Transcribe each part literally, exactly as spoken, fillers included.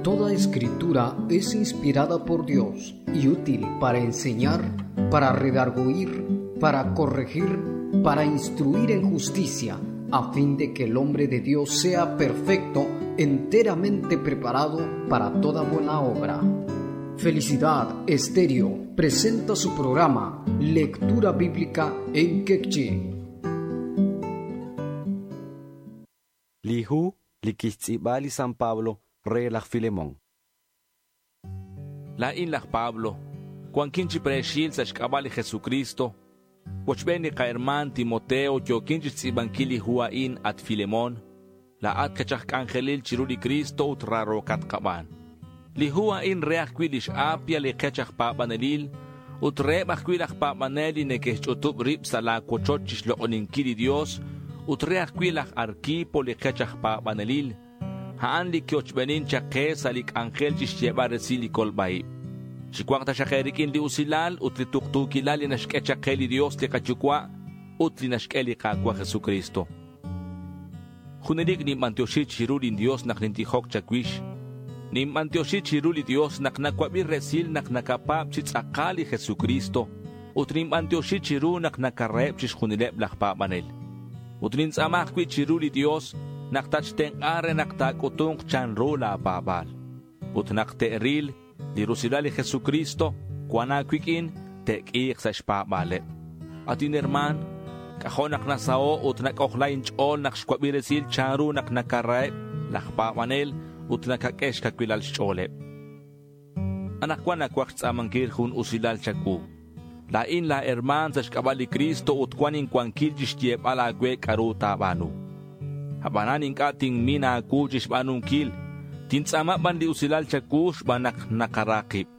Toda escritura es inspirada por Dios y útil para enseñar, para redarguir, para corregir, para instruir en justicia, a fin de que el hombre de Dios sea perfecto, enteramente preparado para toda buena obra. Felicidad Estéreo presenta su programa Lectura Bíblica en Quechí. Li hu li kixtz'iib'a li San Pablo re laj Filemón. Laa'in laj Pablo, cuanquin chi preexil sa' xk'ab'a' li Jesucristo. Wochb'een li qaherman Timoteo yokin chi xtz'iib'ankil li hu a'in at Filemón. Laa'at kachaj k'anjelil chiru li Cristo ut rarokat qab'aan. Li hu a'in re ajwi' lix Apia li qech aj paab'anelil ut reheb' ajwi' laj paab'anel li neke'xch'utub' rib' sa' laawochoch chi xloq'oninkil li Dios ut re ajwi' laj Arquipo li qech aj paab'anelil. A'an li kiochb'enin chaq qe sa' li k'anjel chi xyeeb'al resil li kolb'a'ib'. Chiwanq taxaq eerik'in li usilal ut li tuqtuukilal li naxk'e chaq qe li Dios li qayuwa' ut li naxk'e li Qaawa' Jesucristo. Junelik ninb'antioxi chiru lin Dios naq nintijok chawix. Ninb'antioxi chiru li Dios naq nakwab'i resil naq nakapaab' chi tz'aqal li Jesucristo ut ninb'antioxi chiru naq nakaraheb' chixjunileb' laj paab'anel. Ut nintz'aama ajwi' chiru li Dios naq tatxtenq'a re naq taak'utunq chanru laapaab'aal. Ut naq te'ril li rusilal li Jesucristo cuan aawik'in te'k'iiq sa' xpaab'aaleb'. At inherman, k'ajo' naq nasao ut nak'ojla inch'ool naq xwab'i resil chanru naq nakaraheb' laj paab'anel ut nakak'e xkawilal xch'ooleb'. Anaqwan nakwaj xtz'aamankil jun usilal chawu. Laa'in la herman sa' xk'ab'a' li Cristo ut cuan incuankil chi xyeeb'al aawe k'aru taab'aanu. Ab'anan ink'a' tinmin aawu chi xb'aanunkil. Tintz'aama b'an li usilal chawu xb'aan naq naqara qib'.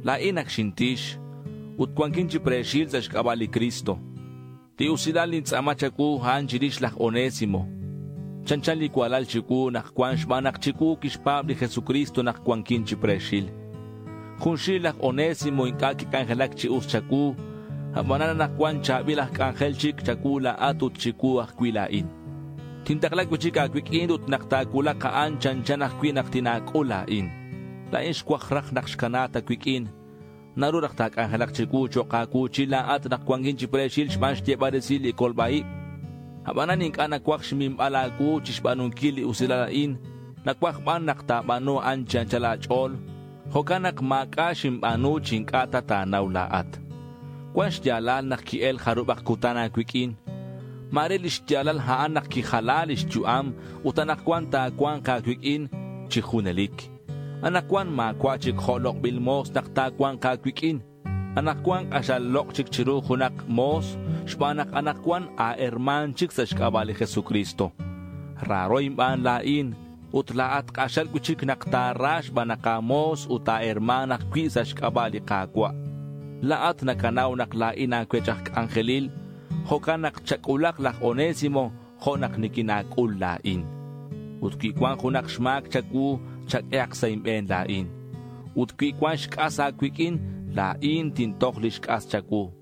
Laa'in ak xintix ut cuankin chi preexil sa' xk'ab'a' li Cristo. Li usilal nintz'aama chawu a'an chirix laj Onésimo. Chanchan li kualal chiwu naq cuan xb'aan naq chiwu kixpaab' li Jesucristo naq cuankin chi preexil. Junxil laj Onésimo ink'a' kik'anjelak chi us chawu, ab'anan naq cuan chaab'il aj k'anjel chik chawu laa'at ut chiwu ajwi' laa'in. Tintaqla cuichik aawik'in ut naq taawulaq a'an chanchan ajwi' naq tinaak'ul laa'in. Laa'in xwaj raj naq xkanaat aawik'in. Naru raj taak'anjelaq chiwu cho'q aawu chi laa'at naq cuankin chi preexil xb'aan xyeeb'al resil li kolb'a'ib'. Ab'anan ink'a' nakwaj xminb'al aawu chi xb'aanunkil li usilal a'in. Nakwaj b'an naq taab'aanu a'an chi anchal aach'ool. Jo'kan naq maak'a' xinb'aanu chi ink'a' ta taanaw laa'at. Cuan xyaalal naq ki'el jarub'aq kutan aawik'in. Mare li xyaalal a'an naq kijala li xyu'am ut anaqwan taawanq aawik'in chi junelik. Anaqwan maawa' chik jo' loq'b'il moos naq taawanq aawik'in. Anaqwan q'axal loq' chik chiru junaq moos xb'aan naq anaqwan aaherman chik sa' xk'ab'a' li Jesucristo. Raro inb'aan laa'in ut laa'at q'axal cuichik naq taara xb'aan naq aamoos ut aaherman ajwi' sa' xk'ab'a' li Qaawa'. Laa'at nakanaw naq laa'in aawech aj k'anjelil. Jo'kan naq chak'ulaq laj Onésimo jo' naq nikinaak'ul laa'in. Ut wi cuan junaq xmaak chawu chak'ehaq sa' inb'een laa'in. Ut wi cuan xk'as aawik'in laa'in tintoj li xk'as chawu.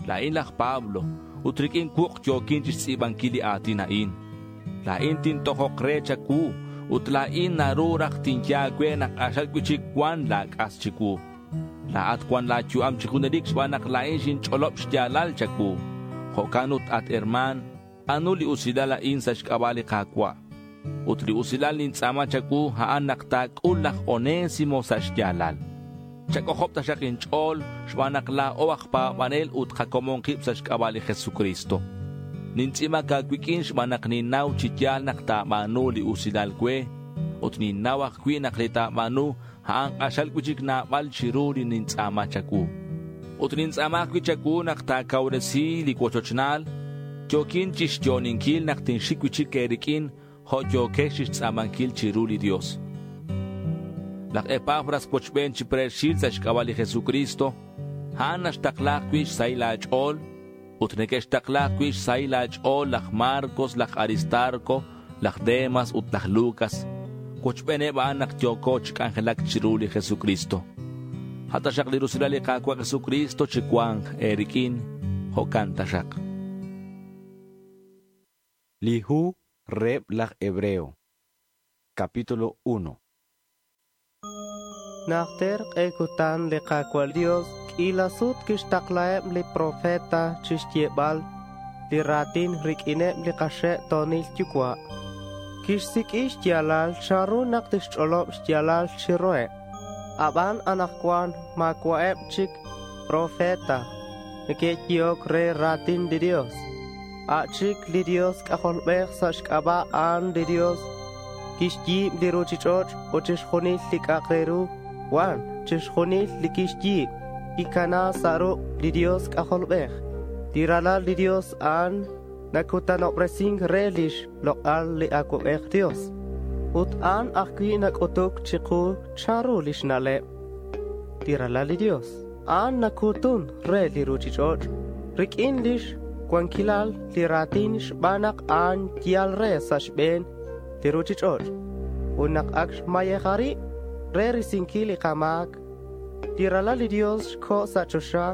Laa'in laj Pablo ut rik'in wuq' yokin chi xtz'iib'ankil li aatin a'in. Laa'in tintojoq re chawu ut laa'in naru raj tinye aawe naq q'axal cuichik cuan laak'as chiwu. Laa'at cuan laayu'am chi junelik xb'aan naq laa'in xinch'olob' xyaalal chawu. Jo'kan ut at herman, anu li usilal a'in sa' xk'ab'a' li Qaawa'. Ut li usilal nintz'aama chawu a'an naq taak'ul laj Onésimo sa' xyaalal. Chak'ojob' taxaq inch'ool xb'aan naq laa'o aj paab'anel ut qakomon qib' sa' xk'ab'a' li Jesucristo. Nintz'imak aawik'in xb'aan naq ninnaw chi yaal naq taab'aanu li usilal we ut ninnaw ajwi' naq li taab'aanu a'an q'axal cuichik naab'al chiru li nintz'aama chawu. Ut nintz'aama ajwi' chawu naq taakawresi li wochochnaal. Yokin chi xyooninkil naq tinxik cuichik eerik'in jo' yokex chi xtz'aamankil chiru li Dios. Laj Epafras wochb'een chi preexil sa' xk'ab'a' li Jesucristo, a'an naxtaqla ajwi' xsahil aach'ool ut neke'xtaqla ajwi' xsahil aach'ool laj Marcos, laj Aristarco, laj Demas ut laj Lucas. Wochb'eeneb' a'an naq yooko chi k'anjelak chiru li Jesucristo. Hataxaq li rusilal li Qaawa' Jesucristo chi wanq eerik'in, jo'kan taxaq. Li hu reheb' laj Hebreo. Capítulo uno. Najter q'e kutan li Qaawa' Dios k'iila sut kixtaqlaheb li profeta chixyeebal li ra̱tin riq'uineb li kaxe'to̱nil yucua'. Quixsiq'ui xya̱lal chanru nak tixch'olob xya̱lal chiruheb. Aban anakcuan ma̱cua'eb chic profeta neque'yehoc re ra̱tin li Dios. A' chic li Dios C'ajolbej sa' xc'aba' a'an li Dios quixyi̱b li ruchich'och' ut chixjunil li c'a'ak re ru cuan. Chixjunil li quixyi̱b quicana sa' ruk' li Dios C'ajolbej. Li Ralal li Dios a'an nacutanobresin re lix lok'al li Acuabej Dios. Ut a'an ajcui' nac'utuc chiku chanru lix na'leb. Li Ralal li Dios a'an nacutun re li ruchich'och' riq'uin lix cuanquilal li ra̱tin xban nak a'an yal re sa' xbe̱n li ruchich'och'. Ut nak ac xmayeja rib re risinquil li kama̱c, li Ralal li Dios xco' sa' choxa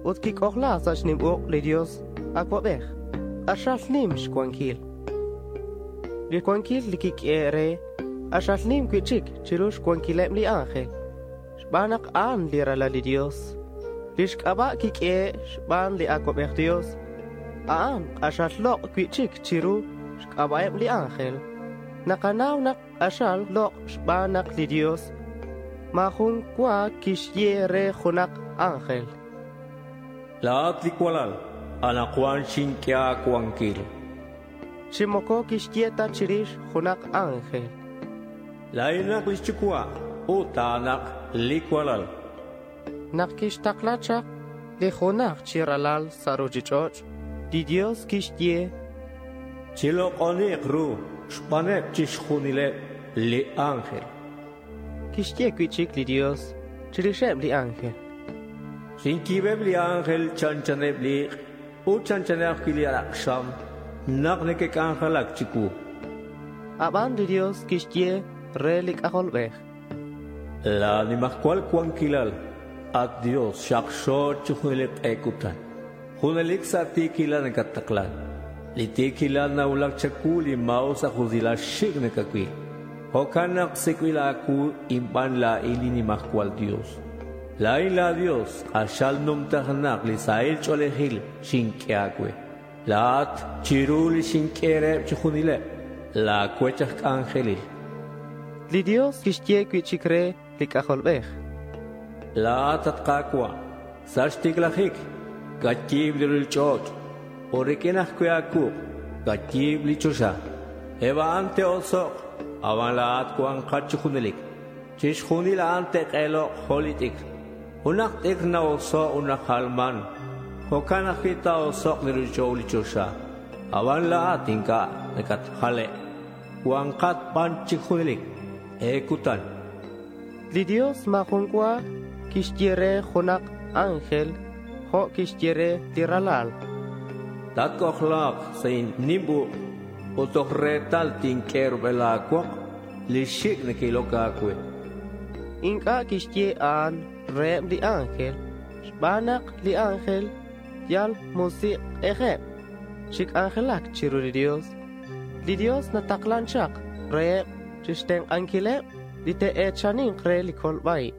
ut quic'ojla sa' xnim uk' li Dios Acuabej. K'axal nim xcuanquil. Li cuanquil li quiq'ue re k'axal nim cui'chic chiru xcuanquileb li ángel. Xban nak a'an li Ralal li Dios. Lix c'aba' quiq'ue xban li Acuabej Dios. A'an k'axal lok' cui'chic chiru xc'aba'eb li ángel. Nakanaw nak k'axal lok' xban nak li Dios ma̱jun cua quixye re junak ángel. Laat li cualal, anakcuan xinq'ue acuanquil. Chi moco quixye ta chirix junak ángel. La'inak lix yucua' ut a'anak li cualal. Nak quixtakla chak li junak chi ralal sa' ruchich'och', li Dios quixye Chilok'oniq ru xbaneb chixjunileb li ángel. Quixye cui'chic li Dios chirixeb li ángel. Xinquibeb li ángel chanchaneb li ik' ut chanchaneb ajwi' li alak'xam nak neque'c'anjelac chicuu. Aban li Dios quixye re li C'ajolbej. La nimajcual cuanquilal, at Dios xakxo chi junelik q'e kutan. Junelik sa' ti̱quilal nakataklan. Li ti̱quilal nawulak chacu li ma̱us aj usilal xik' nakacuil. Jo'kan nak sik'bil a̱cu inban la̱in li nimajcual Dios. La̱in la Dios k'axal numtajenak li sahil ch'o̱lejil xinq'ue a̱cue. La̱at chiru li xinq'ue reheb chi junileb la̱ cuech aj c'anjelil. Li Dios quixye cui'chic re li C'ajolbej. La̱at at Ka̱cua' sa' xticlajic cayi̱b li ruchich'och' ut riq'uin ajcui' a̱cuuk' cayi̱b li choxa. Eb a'an te'osok' aban la̱at cuankat chi junelic. Chixjunil a'an te'k'elok jo' li t'icr. Junak t'icr na'oso' ut najalman. Jo'kan ajcui' ta̱osok' li ruchich'och' li choxa. Aban la̱at inc'a' nacatjale'. Cuankat ban chi junelic. E cutan. Li Dios ma̱jun cua quixye re junak ángel jo' quixye re li Ralal. Tatc'ojla̱k sa' nim uk' ut toj retal tinq'ue rub'el a̱cuok li xik' neque'iloc a̱cue. Inc'a' quixye a'an reheb li ángel xban nak li ángel yal musik'ejeb chi c'anjelac chiru li Dios. Li Dios nataklan chak reheb chixtenk'anquileb li te'e̱chaninkre re li colba'ib.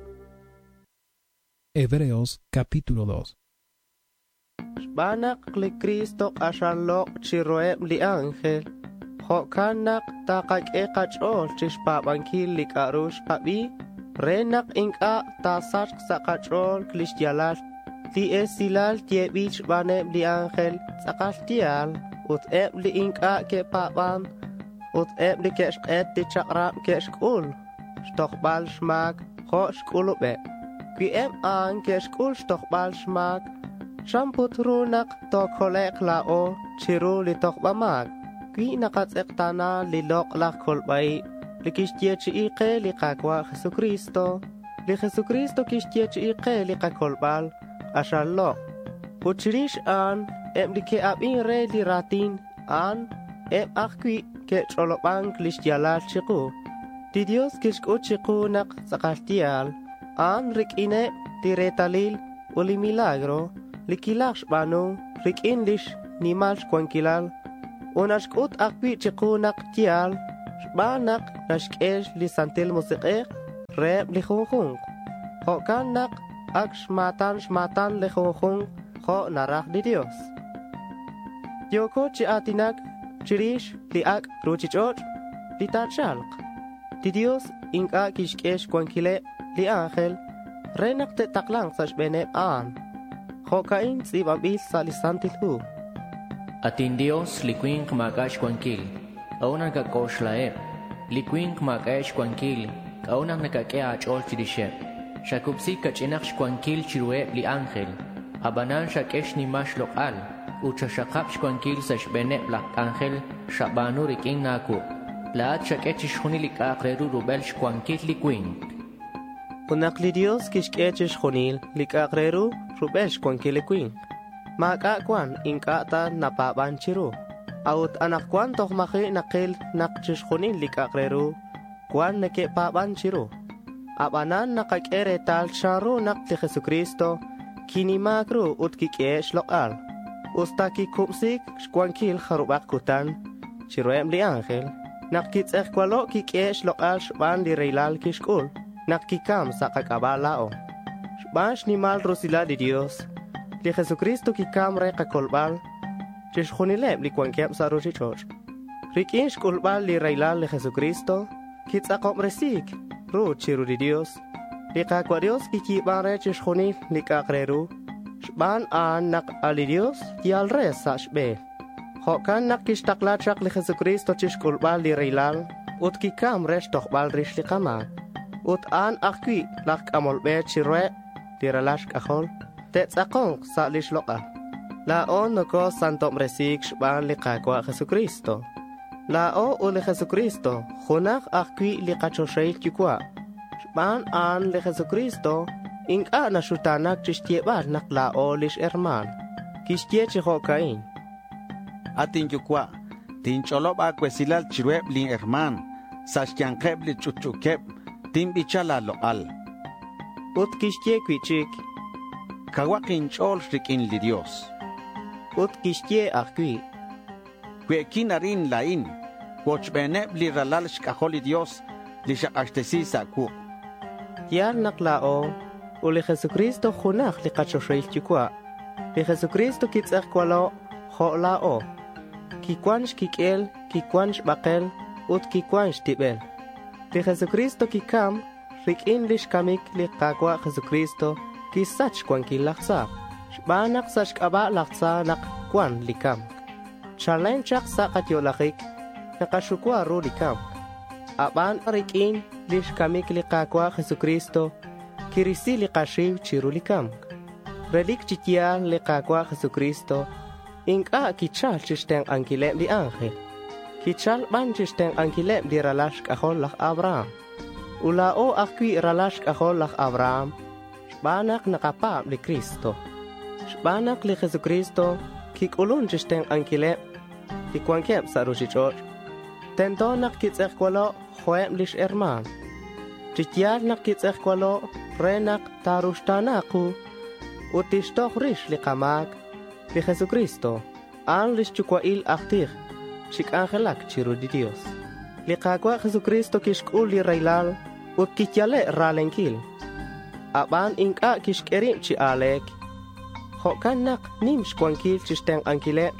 Hebreos capítulo dos. Xban nak li Cristo k'axal lok' chiruheb li ángel, jo'kan nak takaq'ue kach'o̱l chixpa̱banquil li c'a'ru xkabi re nak inc'a' ta̱sachk sa' kach'o̱l lix ya̱lal. Li esilal yebil xbaneb li ángel tz'akal ya̱l ut eb li inc'a' que'pa̱ban ut eb li que'xk'et li chak'rab que'xc'ul xtojbal xma̱c jo' xc'ulubeb. Cui eb a'an que'xc'ul xtojbal xma̱c, chan put ru nak tocolek' la̱o chiru li tojba ma̱c. Cui nakatz'ekta̱na li lok'laj colba'ib li quixyechi'i ke li Ka̱cua' Jesucristo. Li Jesucristo quixyechi'i ke li kacolbal k'axal lok'. Ut chirix a'an eb li ke'abin re li ra̱tin a'an eb ajcui' ke'ch'olobanc lix ya̱lal chiku. Li Dios quixc'ut chiku nak tz'akal ya̱l a'an riq'uineb li retalil ut li milagro li quilaj xba̱nu riq'uin lix nimal xcuanquilal. Ut naxc'ut ajcui' chiku nak ya̱l xban nak naxq'ue li Santil Musik'ej reheb li junjunq. Jo'kan naq ak xmatan xmatan li junjunq jo' naraj li Dios. Yooko chi aatinak chirix li ak' ruchich'och' li ta̱chalk. Li Dios ink'a' kixq'ue xcuanquileb li ángel re nak te'taklank sa' xbe̱neb a'an. Jo'ca'in tz'i̱banbil sa' li Santil Hu. At inDios, li cui̱nk ma̱c'a' xcuanquil, k'a'ut nak nakak'oxlaheb? Li cui̱nk ma̱c'a'eb xcuanquil, k'a'ut nak nakaq'ue a̱ch'o̱l chirixeb? Xacubsi ca'ch'inak xcuanquil chiruheb li ángel. Abanan xaq'ue xnimal xlok'al ut xaxakab xcuanquil sa' xbe̱neb laj c'anjel xaba̱nu riq'uin a̱cuuk'. La̱at xaq'ue chixjunil li c'a'ak re ru rubel xcuanquil li cui̱nk. Ut nak li Dios quixq'ue chixjunil li c'a'ak re ru rubel xcuanquil li cui̱nk, ma̱c'a' cuan inc'a' ta napa̱ban chiru. A'ut anakcuan toj ma̱ji' nakil nak chixjunil li c'a'ak re ru cuan neque'pa̱ban chiru. Abanan nakaq'ue retal chanru nak li Jesucristo quinima̱c ru ut quiq'uehe' xlok'al. Usta quicubsi̱c xcuanquil jarubak cutan chiruheb li ángel, nak quitz'ejcualo' quiq'uehe' xlok'al xban li raylal quixc'ul nak quicam sa' kac'aba' la̱o. Xban xnimal rusilal li Dios, li Jesucristo quicam re kacolbal chixjunileb li cuanqueb sa' ruchich'och'. Riq'uin xc'ulbal li raylal li Jesucristo, quitz'akobresi̱c ru chiru li Dios. Li Ka̱cua' Dios quiyi̱ban re chixjunil li c'a'ak re ru. Xban a'an nak a li Dios yal re sa' xbe̱n. Jo'can nak quixtakla chak li Jesucristo chixc'ulbal li raylal ut quicam re xtojbal rix li kama̱c. Ut a'an ajcui' laj c'amol be chiruheb li ralal xc'ajol te'tz'ako̱nk sa' lix lok'al. La̱o nocosantobresi̱c xban li Ka̱cua' Jesucristo. La̱o ut li Jesucristo junaj ajcui' li kachoxahil Yucua'. Xban a'an li Jesucristo inc'a' naxuta̱nac chixyebal nak la̱o lix herma̱n. Quixye chi jo'ca'in: At inYucua', tinch'olob a̱cuesilal chiruheb lin herma̱n. Sa' xya̱nkeb li ch'utch'u̱queb tinbicha la̱ lok'al. Ut quixye cui'chic: Cauhak inch'o̱l riq'uin li Dios. Ut quixye ajcui': Cue'quin arin la̱in cuochbeneb li ralal xc'ajol li Dios li xak'axtesi sa' cuuk'. Ya̱l nak la̱o ut li Jesucristo junaj li kachoxahil Yucua'. Li Jesucristo quitz'ejcualo' jo' la̱o. Quicuan xquiq'uel, quicuan xbakel ut quicuan xtibel. Li Jesucristo quicam. Riq'uin lix camic li Ka̱cua' Jesucristo quisach xcuanquil laj tza. Xban nak sa' xc'aba' laj tza nak cuan li ca̱mc. Chalen chak sa' kayo'lajic nakaxucua ru li ca̱mc. Aban riq'uin lix camic li Ka̱cua' Jesucristo quirisi li kaxiu chiru li ca̱mc. Relic chi ya̱l li Ka̱cua' Jesucristo inc'a' quichal chixtenk'anquileb li ángel. Quichal ban chixtenk'anquileb li ralal xc'ajol laj Abraham. Ut la̱o ajcui' ralal xc'ajol laj Abraham xban nak nakapa̱b li Cristo. Xban nak li Jesucristo quic'ulun chixtenk'anquileb li cuanqueb sa' ruchich'och', tento nak quitz'ejcualo' jo'eb lix herma̱n. Chi ya̱l nak quitz'ejcualo' re nak ta̱ruxta̱na ku ut tixtoj rix li kama̱c. Li Jesucristo, a'an lix yucua'il aj tij chi c'anjelac chiru li Dios. Li Ka̱cua' Jesucristo quixc'ul li raylal ut quiyale' ra̱lenquil. Aban inc'a' quixq'ue rib chi a̱le̱c. Jo'can nak nim xcuanquil chixtenk'anquileb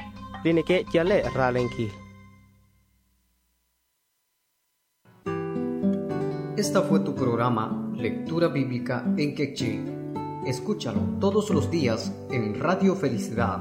li neque'yale' ra̱lenquil. Esta fue tu programa Lectura Bíblica en Quechí. Escúchalo todos los días en Radio Felicidad.